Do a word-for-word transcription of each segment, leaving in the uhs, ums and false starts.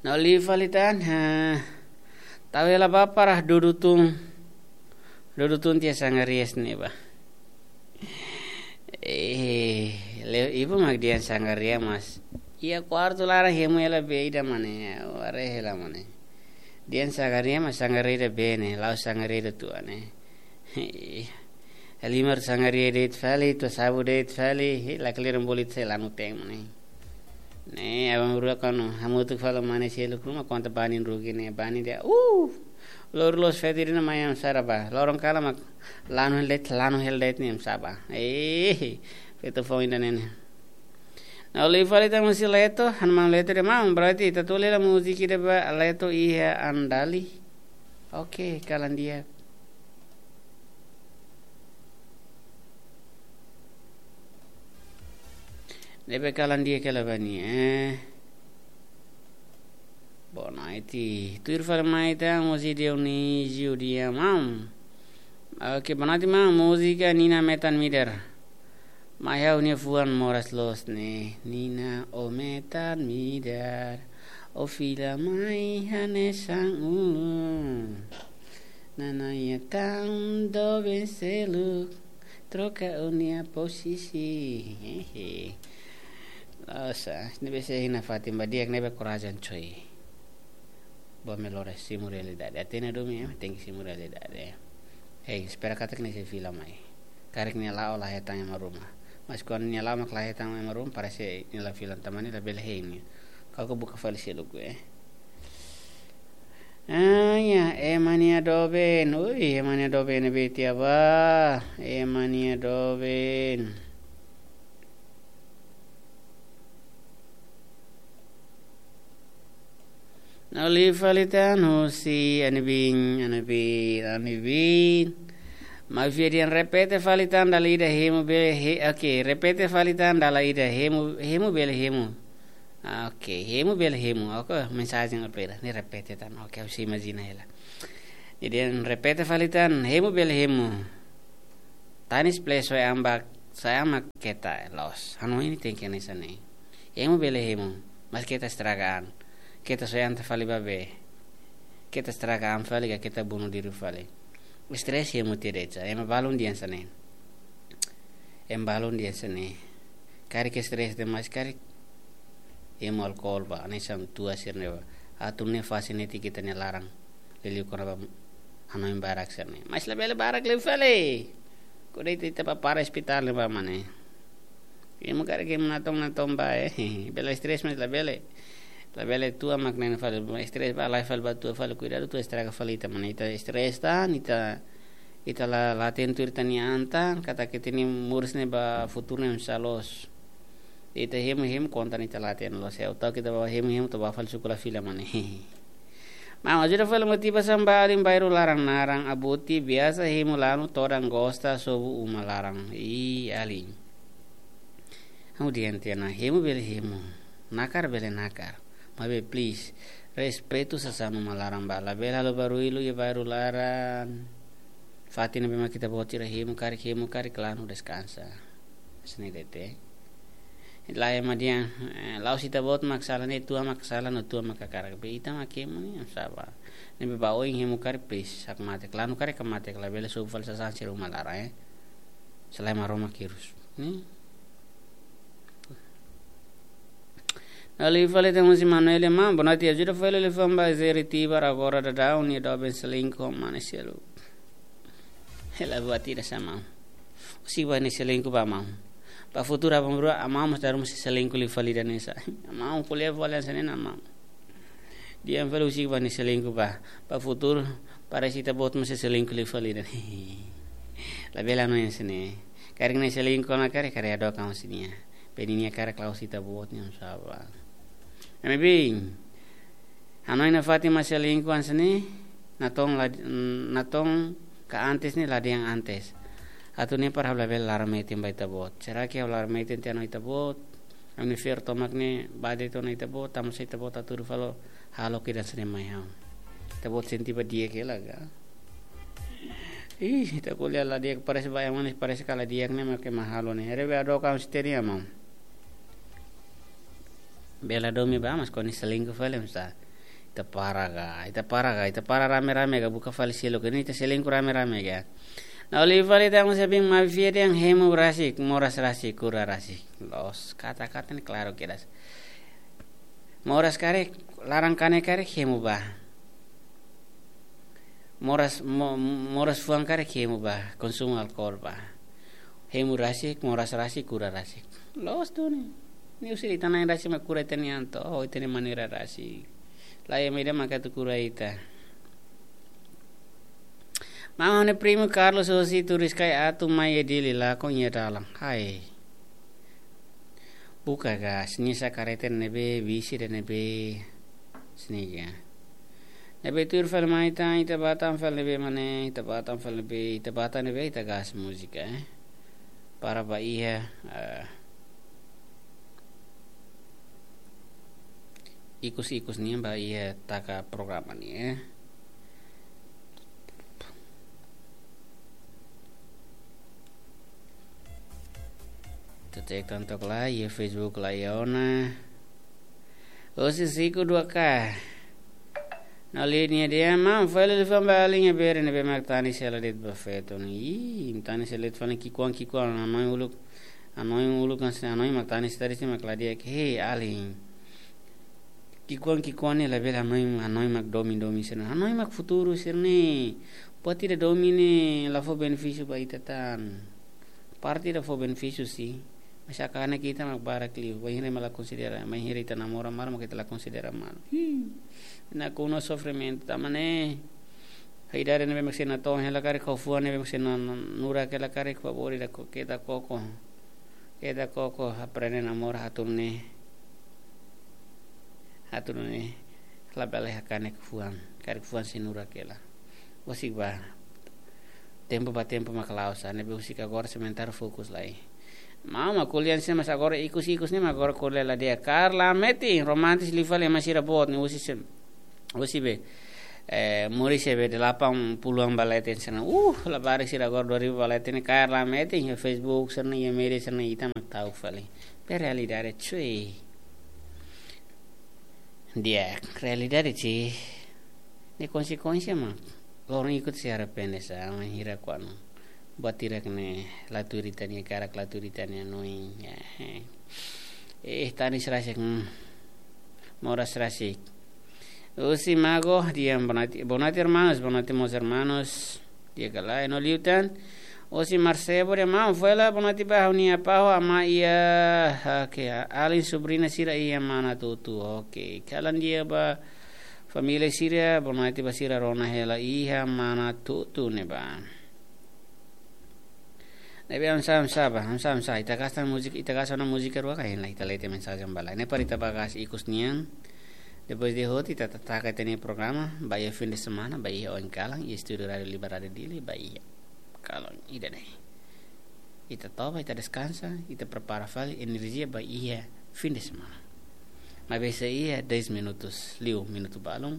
No liu fali tan, ha. Tau hela ba para dudu tun. Dudu tun tiha sangarias ne'e ba. Eh, le ibu mak dehan sangaria mas. Iha kuartu laran hemu hela bee ida mane, ware hela mane. Dehan sangaria mas sangaria ida bee ne'e, la'ós sangaria ida tua ne'e. Halimar sangaria de'it fali, tua sabu de'it fali, he, la kle'an bolu ita sei lanu teng mane. Ne'e, aban-bainrua kuandu hamutuk fali mane seluk ruma konta bani rugi ne'e, bani dehan, uh, loron loos feto ida-ne'e mai am sara ba. Loron kalan mak lanu hela de'it, lanu hela de'it ne'e am sara ba. Eh, feto foun ida-ne'e ne'e. No liu fali tan múzika Leto, han maun Leto dehan maun, berarti ita tau hela múzika ida ba Leto iha Andali. Oke, kalan di'ak. Ne'ebé kalan di'ak hela ba nia, eh. Boa noite. Tuir fali mai tan, múzika Dionísio dehan maun. Oke, boa noite maun, múzika Nina Metan Midar. Mai ha'u-nia fuan moras loos ne'e. Nina, ó metan midar, ó fila mai hanesan ulun. Nanaia tan doben seluk, troka ó-nia posisi. Hehe. Loos, ah, ne'ebé sei iha nafatin ba di'ak, ne'ebé korajen coy. Ba melhor simu realidade. Até na domi, eh, tenke simu realidade. Hei, espera katak nia sei fila mai. Karik nia la'o la hetan ema ruma. Mas kuandu nia la'o mak la hetan ema ruma, parese nia la fila, tanba nia labele hein nia. Kau ka buka fali seluk, eh. Ah, ya, ema nia doben. Ui, ema nia doben ne'ebé tiha ba. Ema nia doben. No liu fali tan husi Anibin, Anibin, Anibin. Maun Fiadian, repete fali tan dala ida hemu bele he-, oke, repete fali tan dala ida hemu, hemu bele hemu. Ah, oke, hemu bele hemu. Oke, mensajen apa ida? Ne'e repete tan. Oke, ha'u sei imajina hela. Jadi, repete fali tan, hemu bele hemu. Tanis please, soe an ba, soe an mak keta, loos. Hanoin ne'e tenke hanesan ne'e. Hemu bele hemu, mas keta estraga an. Keta soe an ita fali ba bee. Keta estraga an fali ka keta bunuh diri fali. Stres hemu tiha de'it sa. Ema balun dehan hanesan ne'e. Ema balun dehan hanesan ne'e. Karik stres demais, karik hemu alkohol ba, hanesan tua sira-ne'e ba. Atu ne'e fase netik ita-nia laran. Liuliu kona-ba hanoin barak sira-ne'e. Mas labele barak liu fali. Kuandu ita, ita ba para ospitál ne'e ba mane. Hemu karik hemu natoon, natoon ba, eh. Bele stres mas labele. Labele tua mak ne'e fali, stres ba, la'o fali ba tua fali, kuidadu tua estraga fali ita mane. Ita stres tan, ita, ita la, la atentu ita-nia an tan, katak ita-nia moris ne'e ba futuru ne'e sá loos. Ita hemu-hemu konta ita la hatene loos. Ha'u tau ita ba hemu-hemu to'o ba fali suku la fila mane. Maun, ajuda fali motivasaun ba alin bairru laran naran Abuti, biasa hemu lanu todan gosta sobu uma laran. Ih, alin. Ha'u dehan tiha ona, hemu bele hemu. Nakar bele nakar. Maibé please, respeitu sasán uma laran ba. Labele halo barullu iha bairru laran. Fatin ne'ebé mak ita-boot sira hemu karik, hemu karik lanu deskansa. Hanesan ne'e de'it. Lae ema dehan, eh, la'ós ita-boot mak sala ne'e, tua mak sala no tua mak hakarak. Be ita mak hemu ne'e, sá ba. Ne'ebé ba oin hemu karik please, hakmatek, lanu karik hakmatek, labele sobu fali sasán sira uma laran, eh. Selae Maromak hirus. Ne'e. No liu fali tan husi Manuel, maun, boa noite, ajuda fali liafuan ba Zeritibar agora daudaun nia doben selingkuh ho mane seluk. Hela buat ida sá maun. Husik ba nia selingkuh ba maun. Ba futuru aban-bainrua, maun mós dala ruma sei selingkuh liu fali ida-ne'e sá. Maun ko'alia fali hanesan ne'e ona maun. Dehan fali husik ba nia selingkuh ba. Ba futuru, parese ita-boot mós sei selingkuh liu fali ida-ne'e. Labele hanoin hanesan ne'e. Karik nia selingkuh ona karik, karik hadook an husi nia. Be ninia karik la'ós ita-boot nian sá ba. Ami bin. Hanoin nafatin mak selingkuh hanesan ne'e, natoon la, natoon ka antes ne'e la dehan antes. Atu ne'e para ha'u labele laran metin ba ita-boot. Será que ha'u laran metin tiha ona ita-boot? Ami-nia fiar tomak ne'e ba de'it ona ita-boot, tanba sá ita-boot hatudu fali halo kedas ne'e mai ha'u. Ita-boot sente ba di'ak hela ka? Ih, ita ko'alia la di'ak, parese ba ema ne'e, parese ka la di'ak ne'e mak ema halo ne'e. Haree be hadook an husi ita-nia maun. Bele domin ba, mas kuandu selingkuh fali, mas sá. Ita para ka, ita para ka, ita para rame-rame ka, buka fali seluk, ne'e ita selingkuh rame-rame ka. Ne'e liu fali ita mós bin maibé fiar dehan hemu rasik, moras rasik, kura rasik. Loos, kata-kata ne'e klaru kedas. Moras karik, laran kanek karik hemu bá. Moras, mo-, moras fuan karik hemu bá, konsumu alkohol bá. Hemu rasik, moras rasik, kura rasik. Loos duni. Ne'e husi ita-nia an rasik mak kura ita-nia an to'o, ita-nia maneira rasik. Laiha ema ida maka atu kura ita. Maun, ha'u-nia primu Carlos hosi Turiscai atu mai iha Dili, lakon iha dalan. Hai. Buka gas, nia sa'e kareta ne'ebé, bisi ida ne'ebé, sini ya. Ne'ebé tuir fali mai tan, ita bá tan fali ne'ebé mak ne'e, ita bá tan fali ne'ebé, ita bá tan ne'ebé, ita gas múzika, eh. Para bá iha, eh, ikus-ikus nian bá iha taka programa nian, eh. Ita cek tan took lai, iha Facebook laiha ona. Hosi Siku dua K. Ne'e liu nia dehan, maun, fali liafuan ba alin iha bere ne'ebé mak tanis hela de'it ba feto ne'e. Ih, tanis hela de'it fali ki'ikoan-ki'ikoan, hanoin uluk, hanoin uluk kan se hanoin mak tanis tadi se mak la di'ak, hei, alin. Ki'ikoan-ki'ikoan ne'e labele hanoin, hanoin mak domin-domin sira-ne'e. Hanoin mak futuru sira-ne'e. Buat ida domin ne'e la fó benefísiu ba ita tan. Parte ida fó benefísiu sih. Mas hakanek ita mak barak liu. Bainhira ema la konsidera, bainhira ita namora malu, mak ita la konsidera malu. Hii. Nakonu sofrimentu, tanba ne'e. Idade ne'ebé mak sira natoon hela karik, ho fuan ne'ebé mak sira na-, na-, nurak hela karik, favór ida ko-, keta koko. Keta koko aprende namora, atu nune'e. Atu nune'e. Labele hakanek fuan. Karik fuan sei nurak hela. Husik bá. Tempu ba tempu mak la'o sa, ne'ebé husik agora sementara fokus lai. Maun, mak ko'alia sira mas agora ikus-ikus ne'e mak agora ko'alia la di'ak. Kaer la metin, romantis liu fali ema sira boot ne'e husi sem-, husi be. Eh, moris iha be delapan puluhan ba leten sira-ne'e. Uh, labarik sira agora dua ribu ba leten ne'e kaer la metin, iha Facebook sira-ne'e, iha média sira-ne'e, ita mak ta'uk fali. Be realidade, cuy. Di'ak, realidade sih. Ne'e konsekuénsia mak loron ikut sei arrepende sa, bainhira kuandu buat hirak ne'e la tuir ita-nia hakarak, la tuir ita-nia hanoin. Ya, eh. Eh, tanis rasik, hmm. Moras rasik. Husi Mago, di'ak, boa noite, boa noite, irmãos, boa noite, meus irmãos. Di'ak ka lae, no liután. Husi Marsebo dehan, maun, fali boa noite ba ha'u-nia apá ho amá iha, oke, alin, sobriña sira iha Manatutu. Oke, kalan di'ak ba família sira, boa noite ba sira rona hela iha Manatutu ne'ebá. Ne'ebé hamsa, hamsa bá, hamsa, hamsa. Ita gas tan múzika, ita gas ona múzika rua ka, hein lai ita lee tiha mensajen ba lai. Ne'e para ita bá gas ikus nian. Depois de hotu ita ta-, taka ita-nia programa, ba iha fim de semana, ba iha oin kalan, iha estúdiu Rádiu Liberdade Dili, ba iha kalan ida-ne'e. Ita toba, ita deskansa, ita prepara fali enerjia ba iha fim de semana. Maibé sei iha dez minutos, liu minutu balun.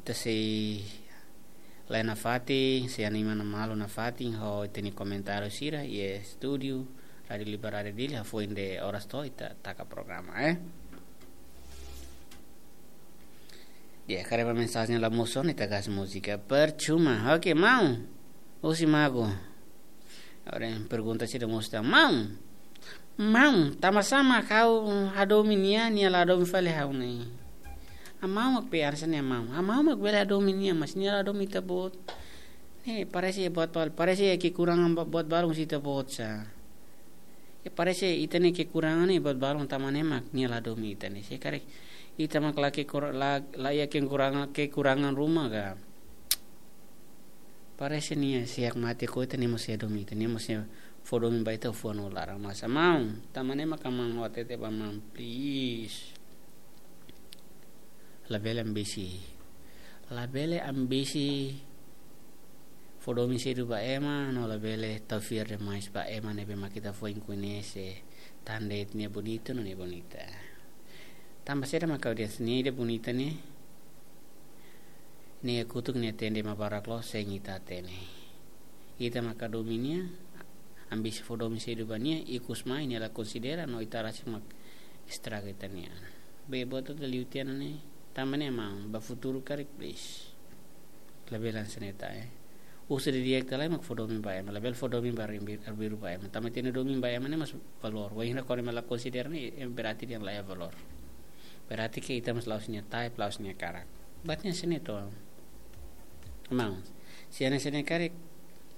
Ita sei la'o nafatin, sei anima malu nafatin, ho ita-nia komentáriu sira, iha estúdiu Rádiu Liberdade Dili, hafoin de oras to'o, ita taka programa, eh. Di'ak, karik ba mensajen la mosu ona, ita gas múzika. Percuma. Oke, maun. Husi Mago. Agora pergunta sira mós tan. Maun. Maun, tanba sá mak ha'u hadomi nia, nia la hadomi fali ha'u ne'e? Amá mak be arsa ne'e, maun. Amá mak bele hadomi nia, mas nia la hadomi ita-boot. Ne'e, parese buat bal-, parese kekurangan ba-, buat balun husi ita-boot sa. Ya, parese ita-nia kekurangan ne'e buat balun, tanba ne'e mak nia la hadomi ita ne'e. Se karik ita mak la kekur-, la, la iha kekurangan, kekurangan ruma ka. Parese nia siak mate ko ita, nia mós sei hadomi ita, nia mós sei fó domin ba ita fuan no laran. Mas maun, tanba ne'e mak maun hatete ba maun, please. Labele ambisi. Labele ambisi fó domin sedu ba ema, no labele tau fiar demais ba ema ne'ebé mak ita foin koñese tan de'it nia bonita no nia bonita. Tanba saida mak ha'u dehan nia ida bonita ne'e, nia kutuk nia tende mak barak loos, sein ita hatene. Ita mak hadomi nia, ambisi fó domin sedu ba nia, ikus mai nia la konsidera, no ita rasik mak estraga ita-nia an. Be buat hotu liu tiha ona ne'e, Tanba ne'e maun, ba futuru karik, please. Labele hanesan ne'e tan, eh. Husu didi'ak tiha lai mak fó domin ba ema, labele fó domin ba arbiru, arbiru ba ema. Tanba ita-nia domin ba ema ne'e mós valór. Wainhira kuandu ema la konsidera ne'e, eh, berarti nia la iha valór. Berarti ke ita mós la'ós nia type, la'ós nia karak. Buat ne'e hanesan ne'e to. Maun, se hanesan ne'e karik,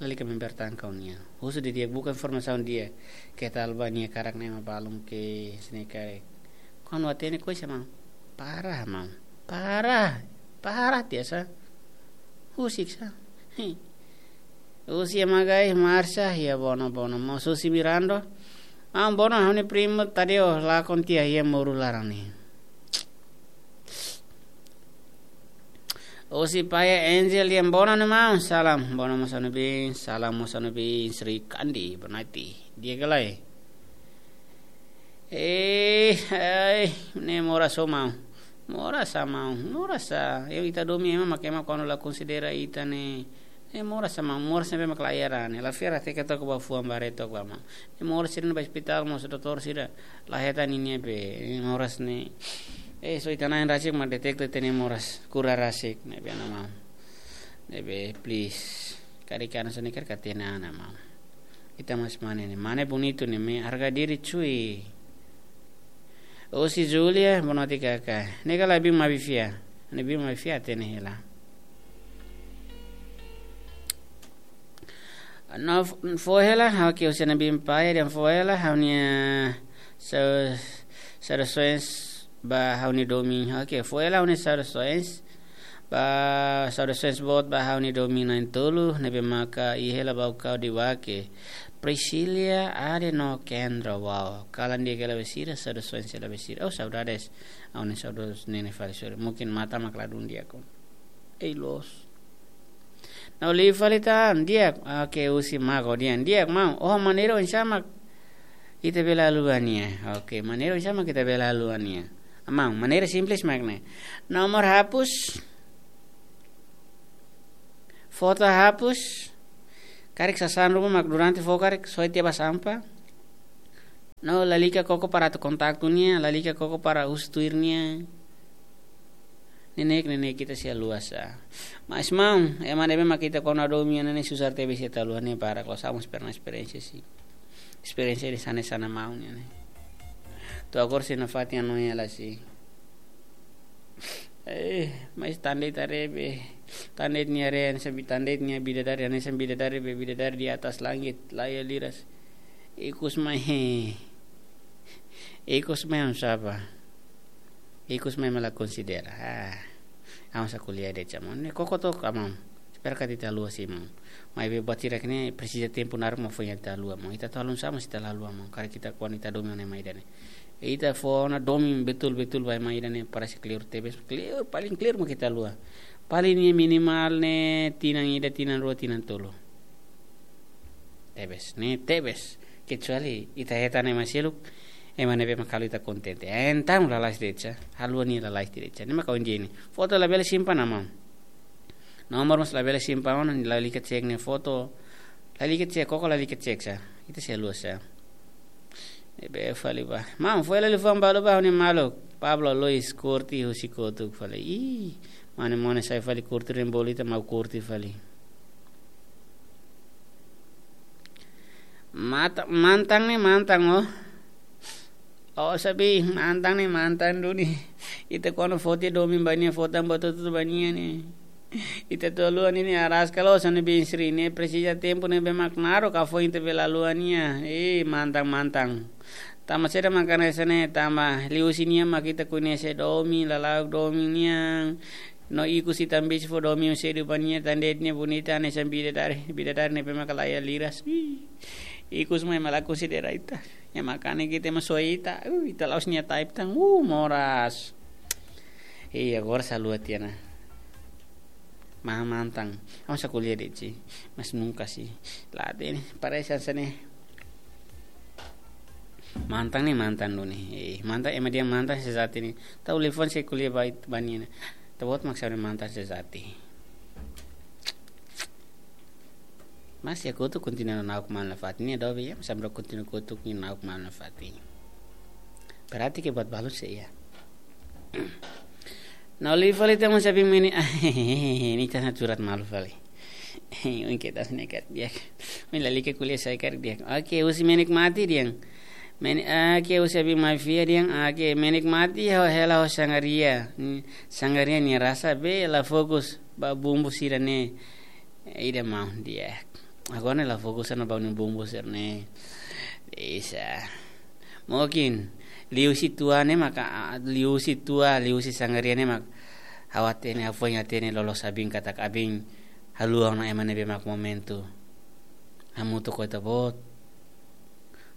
lalika mempertahankan nia. Husu didi'ak, buka informasaun di'ak, keta alba nia karak ne'e ema balun ke hanesan ne'e karik. Kuandu hatene koisa maun, parah maun, parah, parah tiha sa. Husik sa. Hi. Husi ema gai Marsha, iha Bono, Bono. Mós husi Mirando. Ah, Bono, ha'u-nia primu Tadeo, lakon tiha iha moru laran ne'e. Husi Paia Angel, iha Bono ne'e maun, salam. Bono mós ha'u-nia biin, salam mós ha'u-nia biin, Sri Kandi, Bonaiti. Di'ak ka lae? Eh, ai, ne'e moras ho maun. Moras sa maun, moras sa. Ita domin ema mak ema kuandu la konsidera ita ne'e. Ne'e moras sa maun, moras ne'ebé mak la iha raan ne'e. La fiar até ke toka ba fuan baré toka ba maun. Ne'e moras sira-ne'e ba ospitál mós doutór sira la hetan ninia be. Ne'e moras ne'e. Eh, só ita-nia an rasik mak deteta ita-nia moras. Kura rasik ne'ebé ona maun. Ne'ebé, please. Karik hanesan ne'e karik hatene ona maun. Ita mós mane ne'e. Mane bonitu ne'e, harga diri cuy. Husi Julia, boa noite kaka. Ne'e ka la biin maibé fiar. Ne'e biin maibé fiar hatene hela. No, fó hela, ha'u ke husi ne'e biin Paia, dehan fó hela, ha'u-nia sa-, saudasoens ba ha'u-nia domin. Oke, fó hela ha'u-nia saudasoens. Ba saudasoens boot ba ha'u-nia domin na'in-tolu, ne'ebé maka iha hela Baucau de Vaque. Priscila, Ade no Kendra, wow. Kalan di'ak hela ba sira, saudasoens hela ba sira. Oh, saudades. Ha'u-nia saudades ne'e fali, sorry. Mungkin matan mak ladún di'ak ona. Ei, loos. Ha'u liu fali tan, di'ak. Oke, husi Mago dehan, di'ak maun. Oh, maneira oinsá mak ita bele haluha nia. Oke, maneira oinsá mak ita bele haluha nia. Maun, maneira simples mak ne'e. Nomor hapus. Foto hapus. Karik sasán ruma mak durante fó karik soe tiha ba sampah. No, lalika koko para atu kontaktu nia, lalika koko para husu tuir nia. Neineik, neineik ita sei haluha sa. Mas maun, ema ne'ebé mak ita kona domin nia ne'e susar tebes ita haluha nia para, kalau sa mós pernah esperiénsia sih. Esperiénsia di sana sana maun nia ne'e. Tu agora sei nafatin hanoin hela sih. Eh, mas tan de'it haree be. Tan de'it nia haree, hanesan bi-, tan de'it nia bidadari, hanesan bidadari be, bidadari di atas langit, laiha liras. Ikus mai, he. Ikus mai hanesan sapa? Ikus mai ema la konsidera. Ah. Ha'u sá ko'alia de'it sa maun. Ne'e koko took maun. Espera katak ita haluha sih maun. Maibé buat hirak ne'e presiza tempu naruk mak foin ita haluha maun. Ita atu haluha sá mós ita la haluha maun. Karik ita kuandu ita domin ona ema ida ne'e. Ita fó ona domin betul-betul ba ema ida ne'e, parese clear tebes, clear, paling clear mak ita haluha. Paling ne'e minimal ne'e tinan ida, tinan rua, tinan tolu. Tebes, ne'e tebes. Kecuali ita hetan ema seluk, ema ne'ebé mak halo ita kontente. Entaun lalais de'it sa, haluha nia lalais de'it sa. Ne'e mak ohin de'it ne'e. Foto labele simpan ona maun. Nomor mós labele simpan ona, lalika cek nia foto. Lalika cek, koko lalika cek sa. Ita sei haluha sa. Ne'ebé fali ba. Maun, fó hela liafuan balu ba ha'u-nia maluk. Pablo Luis Kurti husi kotuk fali. Ih, mane mone sai fali kurti ren bolu ita mau kurti fali. Mata, mantan ne'e mantan, oh. Oh, sabi, mantan ne'e mantan duni. Ita kuandu fó tiha domin ba nia, fó tan ba tutu ba nia ne'e. Ita atu haluha nia ne'e araska loos, hanesan biin Sri ne'e presiza tempu ne'ebé mak naruk ka foin ita bele haluha nia. Eh, mantan, mantan. Tanba saida mak hanesan ne'e, tanba liuhusi nia mak ita koñese domin, lala'ok domin nian. No ikus ita ambisi fó domin sedu ba nia, tan de'it nia bonita hanesan bidadari, bidadari ne'ebé mak laiha liras. Ih, ikus mai ema la konsidera ita. Ema kanek ita, ema soe ita. Uh, ita la'ós nia type tan. Uh, moras. Ih, agora sá haluha tiha ona. Maun, mantan. Ha'u sá ko'alia de'it sih. Mas nunka sih. La hatene, parese hanesan ne'e. Mantan ne'e mantan duni. Eh, mantan, ema dehan mantan sejati ne'e. Tau liafuan sei ko'alia ba it-, ba nia ne'e. Ita-boot mak sá ne'e mantan sejati. Mas iha kotuk kontinua na'ok malu nafatin, nia dobe iha, mas ami rua kontinua kotuk nia na'ok malu nafatin. Berarti ke buat balu sei iha. No liu fali ita mós abin menik, ah, ne'e ita na turat malu fali. Oin ke tas ne'e karik di'ak. Oin lalika ko'alia sai karik di'ak. Oke, husi menikmati dehan. Men, oke, husi abin mai fiar dehan. Oke, menikmati ho hela ho sangria. Hmm, sangria nia rasa be la fokus ba bumbu sira-ne'e. Ida maun di'ak. Agora ne'e la fokus ona ba nia bumbu sira-ne'e. Bisa. Mungkin liuhusi tua ne'e maka, ah, liuhusi tua, liuhusi sangria ne'e mak ha'u hatene, ha'u foin hatene loloos abin katak abin haluha ona ema ne'ebé mak momentu hamutuk ho ita-boot.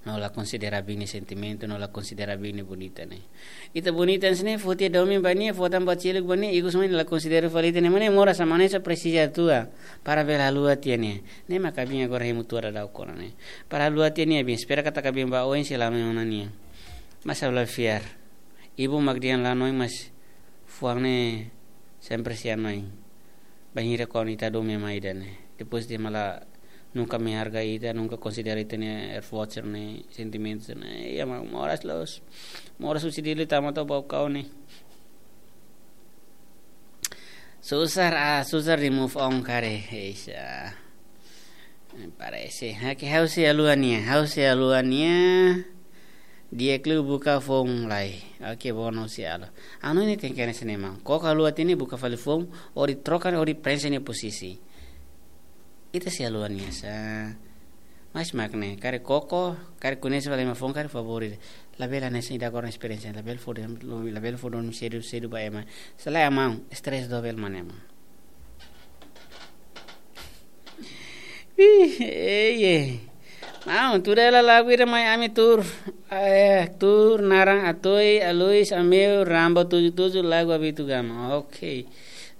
No la konsidera abin nia sentimentu, no la konsidera abin nia bonita ne'e. Ita bonita ne'e foti domin ba nia, foti ba seluk ba nia, ikus mai la konsidera fali ita-nia mane moras, ema ne'e só presiza tua para bele haluha tiha nia. Ne'e maka abin agora hemu tua daudaun ona ne'e. Para haluha tiha nia abin, espera katak abin ba oin sei la nonoin ona nia. Mas ha'u la fiar. Ibun mak dehan la nonoin, mas fuan ne'e sempre sei hanoin. Bainhira kuandu ita hadomi ema ida ne'e. Depois dehan mak la nunka menghargai ita, nunka konsidera ita-nia effort sira-ne'e, sentimentu sira-ne'e. Iha mak moras loos. Moras husi Dili tama to'o Baucau ne'e. Susar, ah, susar di move on karik. Eixa. Parese. Oke, ha'u sei haluha nia, ha'u sei haluha nia. Di'ak liu buka foun lai. Oke, bono sei haluha. Anu ne'e tenke hanesan ne'e maun. Koko haluha tiha nia, buka fali foun, hodi troka, hodi prenxe nia posisi. Ita sei haluha nia sa. Mas mak ne'e, karik koko, karik koñese fali ema foun, karik favór ida. Labele hanesan ida agora esperiénsia, labele fó, labele fó domin sedu, sedu ba ema. Selae maun, stress dobel mak ne'e maun. Ih, ei, ei. Maun, tuur hela lagu ida mai ami tuur. Eh, tuur naran Atoi, Alois, Ameu, Rambo tujuh tujuh, lagu Abitu Gama. Oke.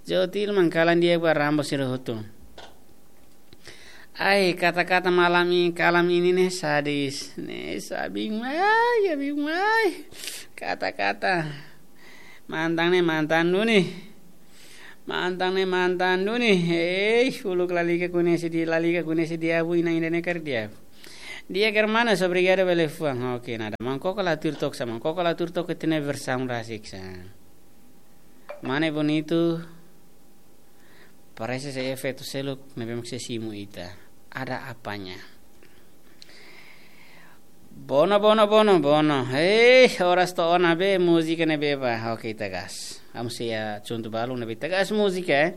Jotil mangkalan di'ak ba Rambo sira hotu. Ai, kata-kata malam ini, kalam ini ne'e sadis. Ne'e sabing mai, abing mai. Kata-kata. Mantan ne'e mantan duni. Mantan ne'e mantan duni. Hei, uluk lalika koñese di, lalika koñese di abu, inan ida ne'e karik di'ak. Di'ak hermanas, obrigadu ba liafuan. Oke, nada. Maun koko la tuur took sa, maun koko la tuur took ita-nia versaun rasik sa. Mane bonitu. Parese sei efeitu seluk ne'ebé mak sei simu ita. Ada apanya. Bono, bono, bono, bono. Hei, oras to'o ona be múzika ne'ebé ba. Oke, ita gas. Ami sei iha contoh balu ne'ebé ita gas múzika, eh.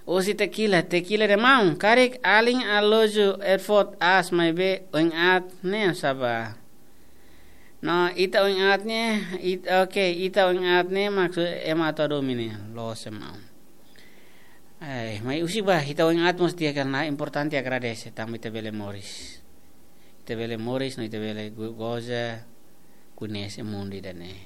Husi Tequila, Tequila dehan maun, karik alin aloju effort aas maibé oin-aat ne'e sá ba. No, ita oin-aat ne'e, it-, oke, ita oin-aat ne'e maksud ema atu hadomi ne'e, loos maun. Ai, mai husik ba, ita oin-aat mós di'ak ona, importante agradese, tanba ita bele moris. Ita bele moris, no ita bele go-, goza, koñese mundu ida-ne'e.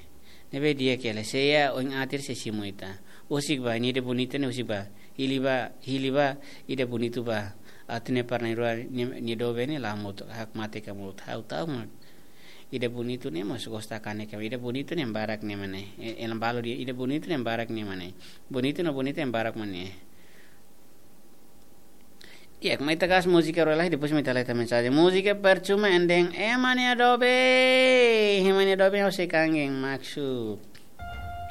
Ne'ebé di'ak hela, se iha oin-aat sei simu ita. Husik ba, nia ida bonita ne'e husik ba. Hili ba, hili ba, ida bonitu ba. Atu ne'e para na'in-rua, nia, nia doben ne'e la hamutuk, hakmatek hamutuk, ha'u ta'uk mak. Ida bonitu ne'e mós gosta kanek, ida bonitu ne'e barak ne'e mak ne'e. E, elan balu dehan, ida bonitu ne'e barak ne'e mak ne'e. Bonitu no bonita ne'e barak mak ne'e. Di'ak, mai ita gas múzika rua lai, depois mai ita leta mensajen. Múzika Percuma and then Ema Nia Doben. Ema Nia Doben ha'u sei kangen, maksud.